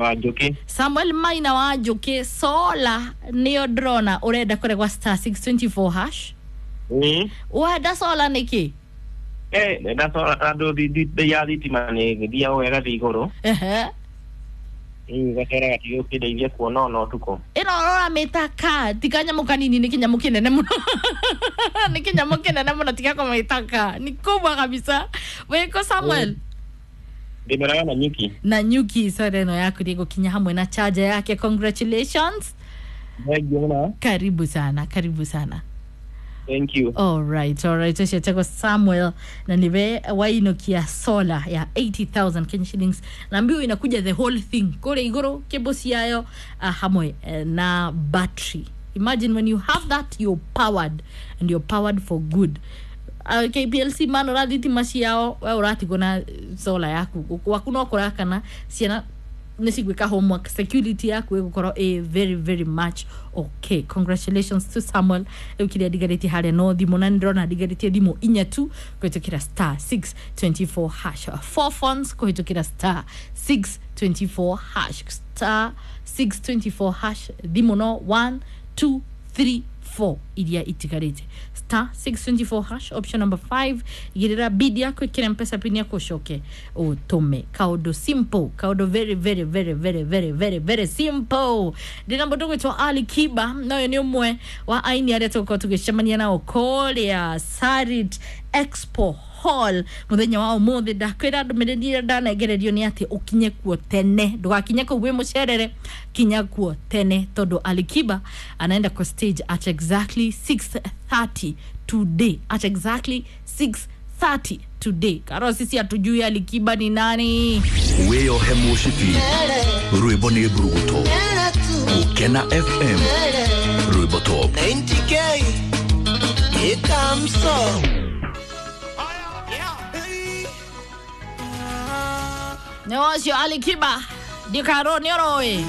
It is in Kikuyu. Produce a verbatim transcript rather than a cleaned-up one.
Wa Njuki. Samuel Maina wa Njuki, sola niyo ndrona urenda kuregwa star six twenty-four hash. Mm. Wenda sola niki? Eh, ndenda sola tondũ bei ya thitima nĩ ĩgĩthiaga ũguo ĩgathiĩ igũrũ. Ehe. Rĩu gacora gatigũkĩndeithia kuona ona ũtukũ. Ĩno ũramĩta ka ti kanyamũ kanini, nĩ kĩnyamũ kĩnene mũno. Nĩ kĩnyamũ kĩnene mũno, tiga kũmĩta ka, ni kubwa kabisa. Wĩkũ Samuel? Ndĩmeraga na nyuki. Na nyuki soda ĩno yaku nĩ ĩgũkinya hamwe na charger yake. Congratulations. Thank you mũno. Karibu sana, karibu sana. Thank you. All right, all right. Ũcio etagwo Samuel na niwe wainukia solar ya eighty thousand Kenya shillings, na mbiu inakuja the whole thing kũrĩa igũrũ kĩbũ ciayo uh, hamwe eh, na battery. Imagine when you have that, you're powered, and you're powered for good. Uh, K P L C man ũrathitima ciao, we ũratigwo na solar yaku, waku no kũrakana, ciana nĩ cigwĩka homework, security yaku ĩgũkorwo ĩ very very much okay. Congratulations to Samuel. Rĩu kĩrĩa ndigarĩtie harĩa no thimũ, na nĩndĩrona ndigarĩtie thimũ inya tu kũhĩtũkĩra star six twenty-four hash. Four phones kũhĩtũkĩra star six twenty-four hash, star six twenty-four hash, thimũ no one two three four iria itigarĩte. Star six twenty-four hash, option number five, igĩrĩra bid yaku, ĩkĩre mpesa pin yaku, ũcoke ũtũme. Kaũndũ simple, kaũndũ very very very very very very very simple. Ndĩna mũndũ gwĩtwo Ali Kiba, na ũyũ nĩ ũmwe wa aini arĩa tũgũkorwo tũgĩcemania nao kũrĩa Sarit Expo Hall muthenya wa umuthi. Ndakwĩra ndũmĩrĩri ĩrĩa ndanengererio nĩ atĩ ũkinye kuo tene, ndũgakinye kũu wĩ mũcerere, kinya kuo tene tondũ Ali Kiba anaenda kwa stage at exactly six thirty today, at exactly six thirty today. Karo sisi hatujui Ali Kiba ni nani. Wĩyohe mũcibi, rwĩmbo nĩ mburuguto. Gũkena F M, rwĩmbo top. ninety K, here comes so. Nĩ ũcio Ali Kiba, ndikaro nĩ ũroĩ.